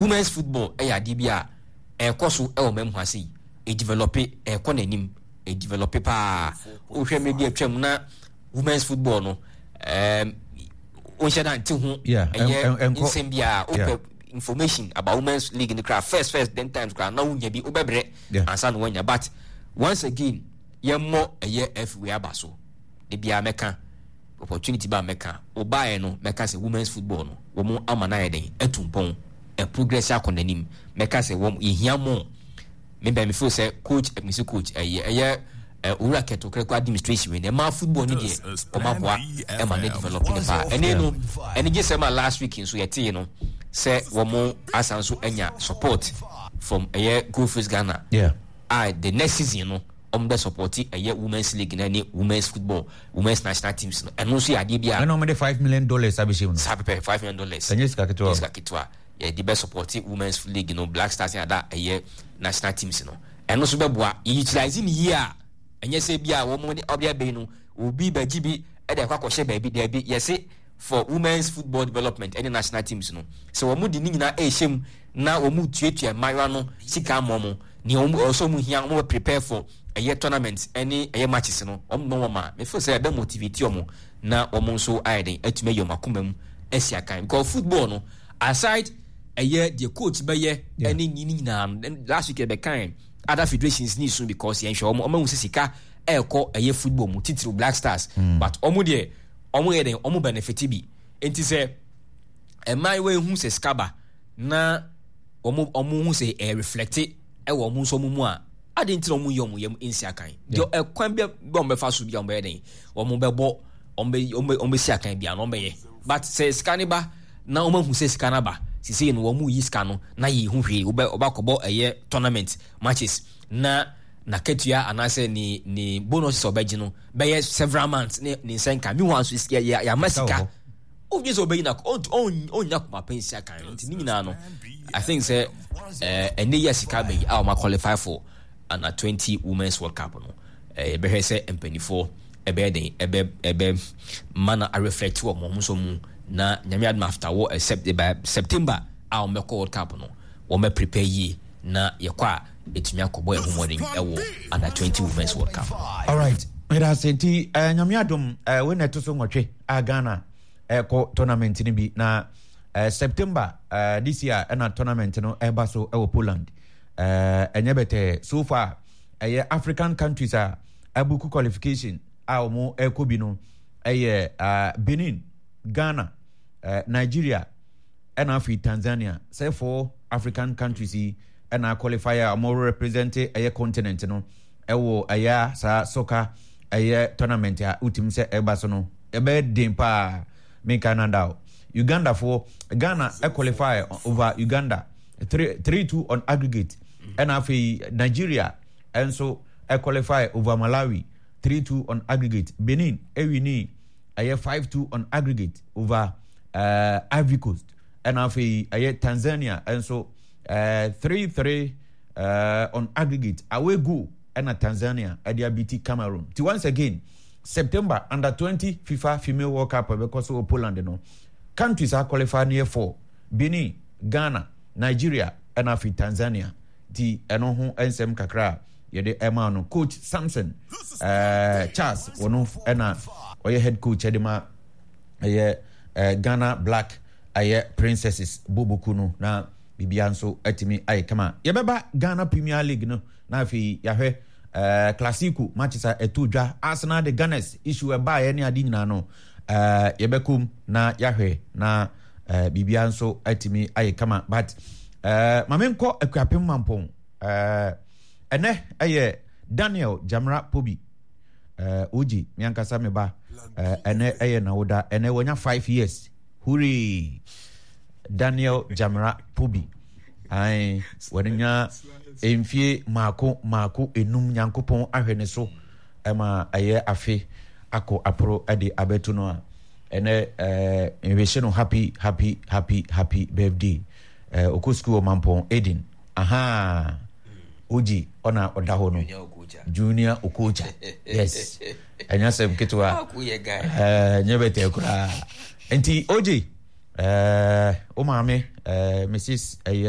Women's football yɛ adeɛ bi a ɛrekɔ so wɔ man mu ha sei. Ɛdevelɔpe, ɛrekɔ n'anim, ɛdevelɔpe paa. Wohwɛ mmerɛ bi atwam na women's football no, um, wonhyɛ da nte ho ɛyɛ nsɛm biara. Wopɛ information about women's league no koraa first first then times koraa na wonya bi wobɛbrɛ ansa na woanya. But once again, yɛmmɔ ɛyɛ F wei aba so. Da biara mɛka opportunity ba mɛka wobaeɛ no mɛka sɛ women's football no wɔn ama no ayɛ den atu mpɔn progress akɔ n'anim mɛka sɛ wɔn yɛhia more me bɛn me feel sɛ coach me sɛ coach ɛyɛ ɛyɛ owura kɛtɔ kɛkɔ administration wei na ɛma football no deɛ wɔn aboa ɛma ne develop ne paa ɛne no ɛne gye sɛ ma last week nso yɛtee no sɛ wɔn asan so anya support from ɛyɛ Gold Fields Ghana yeah. a the next season no wɔn bɛ support ɛyɛ women's league na ne women's football women's national teams no ɛno nso yɛ adeɛ bi a. Ɛna wɔn de $5 million abɛhyɛ mu no. Saa pɛpɛ, $5 million. Ɛnyɛ sika ketewa. Ɛnyɛ sika ketewa, yɛde bɛ support women's league no, Black Stars ne ada ɛyɛ national teams no, ɛno nso bɛboa yɛ utilize ne yie a, ɛnyɛ sɛ bi a wɔn de ɔde abɛyi no obi bɛgye bi ɛde akɔ akɔhyɛ baabi, daabi, yɛse for women's football development ɛne national teams no, sɛ wɔn de ne nyinaa ɛrehyɛ mu na wɔn tuatua mmaayewa no sika ama wɔn nea wɔn ɛwɔ sɛ wɔn hia, wɔn bɛ prepare for ɛyɛ tournament ɛne ɛyɛ matches no, wɔn bɛ wɔn a me feel sɛ ɛbɛ motivate wɔn na wɔn nso ayɛ den atumi ayi wɔn akoma mu asi akan, because football no aside ɛyɛ deɛ coach bɛyɛ ɛne ne nyinaa no, last week ɛbɛ kan other federations ni so because yɛn hwɛ wɔn wɔn ahu sɛ sika ɛrekɔ ɛyɛ football mu titiriw Black Stars but wɔn deɛ wɔn yɛ den wɔn benefit bi nti sɛ mmaayewa ehu sɛ sika ba na wɔn wɔn ho sɛ ɛyɛ reflect ɛwɔ wɔn nso wɔn mu a, adi nti na wɔn yɛ wɔn yam nsi akan deɛ ɛkwan bi wɔn bɛfa so bi a wɔn bɛyɛ den wɔn bɛbɔ wɔn bɛ wɔn bɛ wɔn bɛsi akan bi a na wɔn bɛyɛ, but sɛ sika ne ba na wɔn ahu sɛ sika no aba sisi no wɔn yi sika no na yɛ hu hwee wɔbɛ wɔbɛakɔbɔ ɛyɛ tournament matches na n'akatua anaasɛ ne ne bonus sɛ ɔbɛgye no bɛyɛ several months ne ne nsa nka mi hɔ nso yɛ yɛ yɛama sika. Wodwen sɛ ɔbɛyi na ɔnnya koma pa nsi akan no nti ne nyinaa no, I think sɛ ɛnɛ yi a sika bɛyi a wɔn qualify for under 20 women's world cup no, yɛbɛhwɛ sɛ mpanimfoɔ ɛbɛyɛ den ɛbɛ ɛbɛ ma na areflect wɔ wɔn nso mu na Nyame adom after wɔ ɛsɛ September a wɔn bɛkɔ world cup no, wɔn bɛ prepare yie na yɛkɔ a ɛtumi akɔbɔ yɛn ho mmɔden ɛwɔ under 20 women's world cup. Alright, meda ase nti Nyame adom wei na ɛto so 8 a Ghana ɛkɔ tournament no bi na September this year ɛna tournament no ɛba so ɛwɔ Poland. Ɛnyɛ bɛtɛɛ so far, ɛyɛ African countries a abuku qualification a wɔn ɛkɔ bi no ɛyɛ Benin, Ghana, Nigeria ɛna afei Tanzania. Sɛ four African countries yi ɛna qualify a wɔn represent ɛyɛ continent no ɛwɔ ɛyɛ saa soccer ɛyɛ tournament a wotumi sɛ ɛba so no, ɛbɛyɛ den paa. Menka nanda o, Uganda foɔ, Ghana qualify over Uganda 3-2 on aggregate, ɛna afei Nigeria ɛnso qualify over Malawi 3-2 on aggregate. Benin ɛwini ɛyɛ 5-2 on aggregate over Ivory Coast, ɛna afei ɛyɛ Tanzania ɛnso 3-3 on aggregate away goal ɛna Tanzania ɛde abiti Cameroon. Ti once again, September under 20 FIFA Female World Cup ɛbɛkɔ so wɔ Poland no, countries a qualify no yɛ four: Benin, Ghana, Nigeria ɛna afei Tanzania. Ti ɛno ho nsɛm kakra a yɛde ɛma no. Coach Samson Charles wɔno ɛna ɔyɛ head coach ɛde ma ɛyɛ Ghana Black ɛyɛ Princesses boboku no na biribiara nso atumi ayɛ kama. Yɛbɛba Ghana Premier League no na afei yɛahwɛ Classico matches a ɛto dwa, Arsenal de Gunners issue ɛbaeɛ ne ade nyinaa no, yɛbɛkɔm na yɛahwɛ na biribiara nso atumi ayɛ kama. But ma menkɔ Akuapem Mampɔn. Ɛnɛ ɛyɛ Daniel Jamra Pobi, Oji, me ankasa me ba, ɛnɛ ɛyɛ nawoda, ɛnɛ wanya 5 years. Hooray! Daniel Jamra Pobi. Ae, wanya mfie maako maako enum, Nyankopɔn ahwɛ ne so ɛma ɛyɛ afe akɔ aporo de abɛto no a ɛnɛ nhwehye no happy happy happy happy birthday. Ɔkɔ sukuu wɔ Mampɔn Eden. Aha! Oji ɔna ɔda hɔ no. Junior Okocha. Yes. Ɛnyɛ asɛm ketewa. Ɛnyɛ bɛtɛ koraa. Nti Oji. Ɛɛ, wo maame, ɛɛ, Mrs. Ɛyɛ.